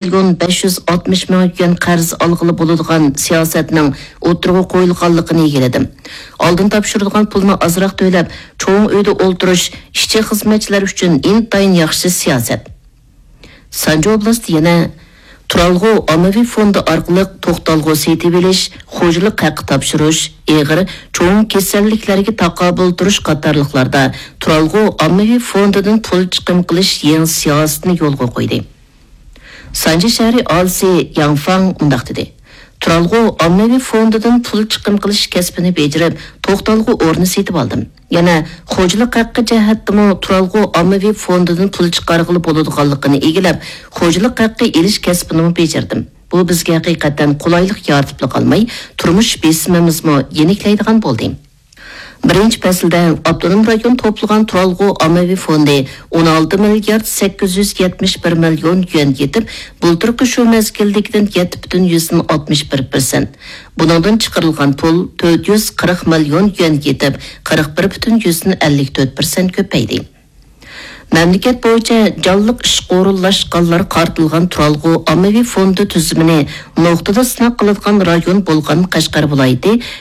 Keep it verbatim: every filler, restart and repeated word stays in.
مىليون بەش يۈز ئاتمىش مىڭ يۈەن قەرز ئالغىلى بولىدىغان سىياسەتنىڭ ئوتتۇرىغا قويۇلغانلىقىنى ئىگىلىدىم. ئالدىن تاپشۇرىدىغان پۇلنى ئازراق تۆلەپ، چوڭ ئۆيدە ئولتۇرۇش ئىشچى-خىزمەتچىلەر ئۈچۈن ئىنتايىن ياخشى سىياسەت. سانجى ئوبلاستى يەنە تۇرالغۇ ئاممىۋى فوندى ئارقىلىق توختالغۇ سېتىۋېلىش، خوجىلىق ھەققى تاپشۇرۇش، ئېغىر، چوڭ كېسەللىكلەرگە تاقابىل تۇرۇش قاتارلىقلاردا تۇرالغۇ ئاممىۋى فوندىدىن پۇل چىقىم قىلىش يېڭى سىياسىتىنى يولغا قويدى. سانجى شەھىرى ئاھالىسى ياڭ فاڭ مۇنداق دېدى: تۇرالغۇ ئاممىۋى فوندىدىن پۇل چىقىم قىلىش كەسپىنى بېجىرىپ، توختالغۇ ئورنى سېتىۋالدىم. يەنە خوجىلىق ھەققى جەھەتتىمۇ تۇرالغۇ ئاممىۋى فوندىدىن پۇل چىقارغىلى بولىدىغانلىقىنى ئىگىلەپ، خوجىلىق ھەققى ئېلىش كەسپىنىمۇ بېجىردىم. بۇ بىزگە ھەقىقەتەن قولايلىق يارىتىپلا قالماي، تۇرمۇش بېسىمىمىزمۇ يېنىكلەيدىغان بولدى. بىرىنچى پەسىلدە ئاپتونوم رايون توپلىغان تۇرالغۇ ئاممىۋى فوندى ئون ئالتە مىليارد سەككىز يۈز يەتمىش بىر مىليون يۈەن يېتىپ، بۇلتۇرقى شۇ مەزگىلدىكىدىن يەتتە پۈتۈن يۈزدىن ئاتمىش بىر پىرسەنت. بۇنىڭدىن چىقىرىلغان پۇل تۆت يۈز قىرىق مىليون يۈەن يېتىپ، قىرىق بىر پۈتۈن يۈزدىن ئەللىك تۆت پىرسەنت كۆپەيدى. مەملىكەت بويىچە جانلىق ئىشقا ئورۇنلاشقانلار قارىتىلغان تۇرالغۇ ئاممىۋى فوندى تۈزۈمىنى نۇقتىدا سىناق قىلىدىغان رايون بولغان قەشقەر ۋىلايىتى